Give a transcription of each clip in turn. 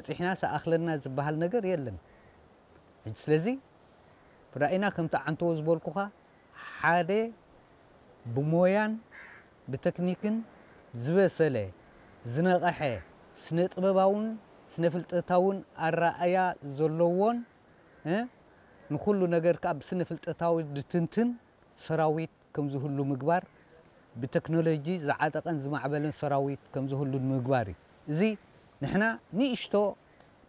በጺሕና ሰኣኽለና ዝበሃል ነገር የለን። ሕጂ ስለዚ ራእይና ከምቲ ዓንተዎ ዝበልኩኻ ሓደ ብሞያን ብተክኒክን ዝበሰለ ዝነቐሐ ስነ ጥበባውን ስነ ፍልጠታውን ኣረኣያ ዘለዎን እ፣ ንኹሉ ነገር ከዓ ብስነ ፍልጠታዊ ዝትንትን ሰራዊት ከም ዝህሉ ምግባር፣ ብቴክኖሎጂ ዝዓጠቐን ዝማዕበለን ሰራዊት ከም ዝህሉ ምግባር እዩ። እዚ ንሕና ንእሽቶ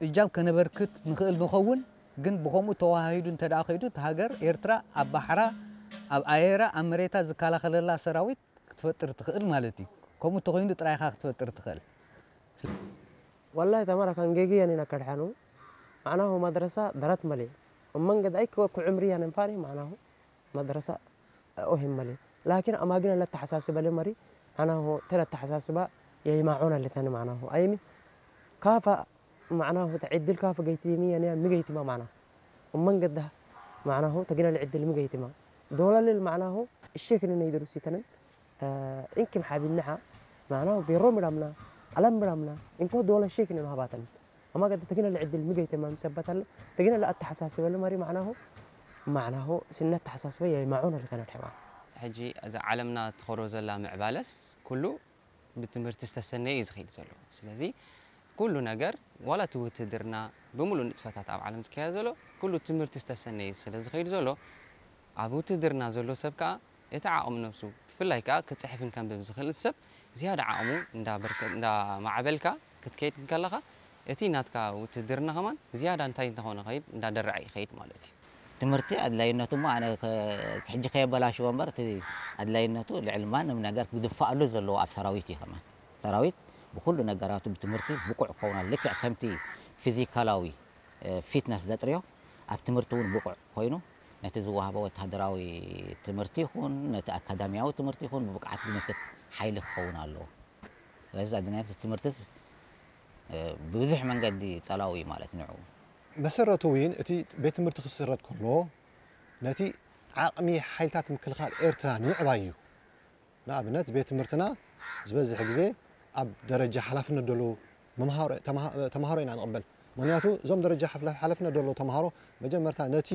እጃም ከነበርክት ንኽእል ንኸውን፣ ግን ብኸምኡ ተዋሃሂዱ እንተ ደኣ ከይዱ፣ እቲ ሃገር ኤርትራ ኣብ ባሕራ፣ ኣብ ኣየራ፣ ኣብ መሬታ ዝከላኸለላ ሰራዊት ክትፈጥር ትኽእል ማለት እዩ። ከምኡ እንተኾይኑ ጥራይ ኢኻ ክትፈጥር ትኽእል። والله تمارا كان جيجي يعني نكر حنو معناه مدرسة درت ملي ومن قد أيك وكعمري يعني فاني معناه مدرسة أهم ملي لكن أما قلنا لا تحساسبة لمري معناه ترى التحساسبة يا معونا اللي ثاني معناه أيمي كافة معناه تعدل كافة قيتي مية يعني مقيتي ما معناه ومن قد ده معناه تقنا العدل مقيتي ما دولا للمعناه الشيخ اللي يدرس يتنم እንኪም ሓቢንናሓ ማዕናሁ ቤሮ ምራምና ኣለም ምራምና እንኮ ዶለ ሼክ ነን ሃባተን ኣማ ገደ ተግነ ልዕድል ምገይተ ማም ሰበታለ ተግነ ለኣተሓሳስበለ ማሪ ማዕናሁ ማዕናሁ ስነት ተሓሳስበ የማዑን ልከነ ሕማ ሕጂ እዛ ዓለምና ትኸዶ ዘላ ምዕባለስ ኩሉ ብትምህርቲ ዝተሰነየ እዩ ዝኸይድ ዘሎ። ስለዚ ኩሉ ነገር ዋላ እቲ ውትድርና ብምሉእ ንጥፈታት ኣብ ዓለም ዝካየድ ዘሎ ኩሉ ትምህርቲ ዝተሰነየ ስለ ዝኸይድ ዘሎ ኣብ ውትድርና ዘሎ ሰብ ከዓ እቲ ዓቕሚ ነብሱ ብፍላይ ከዓ ክፅሕፍን ከንብብ ዝኽእል ሰብ ዝያዳ ዓቕሙ እንዳማዕበልካ ክትከይድ እንከለኻ እቲ ናትካ ውትድርና ከማን ዝያዳ እንታይ እንተኾነ ከይድ እንዳደረዐ ይኸይድ ማለት እዩ። ትምህርቲ ኣድላይነቱ እሞ ኣነ ሕጂ ከየበላሽዎ እምበር እቲ ኣድላይነቱ ልዕሊ ማንም ነገር ክድፋኣሉ ዘለዎ ኣብ ሰራዊት እዩ። ከማን ሰራዊት ብኩሉ ነገራቱ ብትምህርቲ ብቁዕ ክኸውን ኣለዎ። ልክዕ ከምቲ ፊዚካላዊ ፊትነስ ዘጥርዮ ኣብ ትምህርቲ እውን ብቁዕ ኮይኑ ነቲ ዝወሃቦ ወተሃደራዊ ትምህርቲ ይኹን ነቲ ኣካዳሚያዊ ትምህርቲ ይኹን ብብቅዓት ዝምክት ሓይሊ ክኸውን ኣለዎ። ስለዚ ኣድላይነት ትምህርቲ ብብዙሕ መንገዲ ጸላዊ እዩ ማለት ንዑ። መሰረቱ እውን እቲ ቤት ትምህርቲ ክስረት ከሎ ነቲ ዓቕሚ ሓይልታት ምክልኻል ኤርትራ ንምዕባይ እዩ። ንኣብነት ቤት ትምህርትና ዝበዝሕ ግዜ ኣብ ደረጃ ሓላፍነት ደሎ ተምሃሮ ኢና ንቕበል። ምክንያቱ እዞም ደረጃ ሓላፍነት ደሎ ተምሃሮ መጀመርታ ነቲ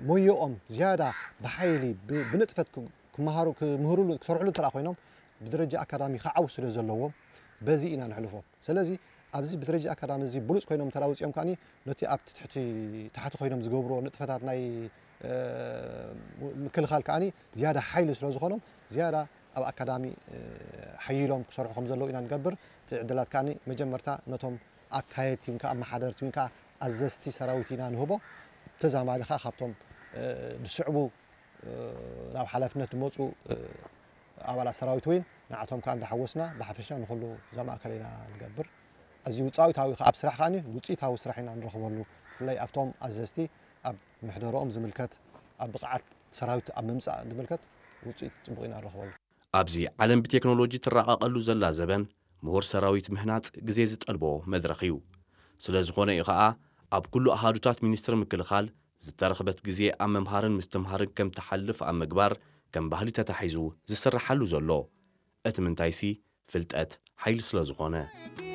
ሞየኦም ዝያዳ ብሓይሊ ብንጥፈት ክመሃሩ ክምህሩሉ ክሰርሕሉ እንተ ኮይኖም ብደረጃ ኣካዳሚ ክዓው ስለ ዘለዎም በዚ ኢና ንሕልፎ። ስለዚ ኣብዚ ብደረጃ ኣካዳሚ እዚ ብሉፅ ኮይኖም እንተ ውፅኦም ከኣ ነቲ ኣብቲ ትሕቲ ታሕቲ ኮይኖም ዝገብርዎ ንጥፈታት ናይ ምክልኻል ከኣ ዝያዳ ሓይሊ ስለ ዝኾኖም ዝያዳ ኣብ ኣካዳሚ ሓይሎም ክሰርሑ ከም ዘለዉ ኢና ንገብር። እቲ ዕድላት ከኣ መጀመርታ ነቶም ኣካየድቲ ወይ ከዓ ኣመሓደርቲ ወይ ከዓ ኣዘዝቲ ሰራዊት ኢና ንህቦ። ተዛማዲ ከዓ ካብቶም ዝስዕቡ ናብ ሓላፍነት ዝመፁ ኣባላት ሰራዊት እውን ንዓቶም ከዓ እንዳሓወስና ብሓፈሻ ንኩሉ ዘማእከለ ኢና ንገብር። እዚ ውፅኢታዊ ኣብ ስራሕ ከዓ ውፅኢታዊ ስራሕ ኢና ንረኽበሉ። ብፍላይ ኣብቶም ኣዘዝቲ ኣብ ምሕደርኦም ዝምልከት ኣብ ብቕዓት ሰራዊት ኣብ ምምፃእ ዝምልከት ውፅኢት ፅቡቕ ኢና ንረኽበሉ። ኣብዚ ዓለም ብቴክኖሎጂ ትረቓቐሉ ዘላ ዘበን ምሁር ሰራዊት ምህናፅ ግዜ ዝጠልቦ መድረኽ እዩ። ስለዝኾነ እዩ ኸዓ ኣብ ኩሉ ኣሃዱታት ሚኒስትሪ ምክልኻል ዝተረኽበት ግዜ ኣብ ምምሃርን ምስትምሃርን ከም ትሓልፍ ኣብ ምግባር ከም ባህሊ ተታሒዙ ዝስርሓሉ ዘሎ። እቲ ምንታይሲ ፍልጠት ሓይሊ ስለዝኾነ።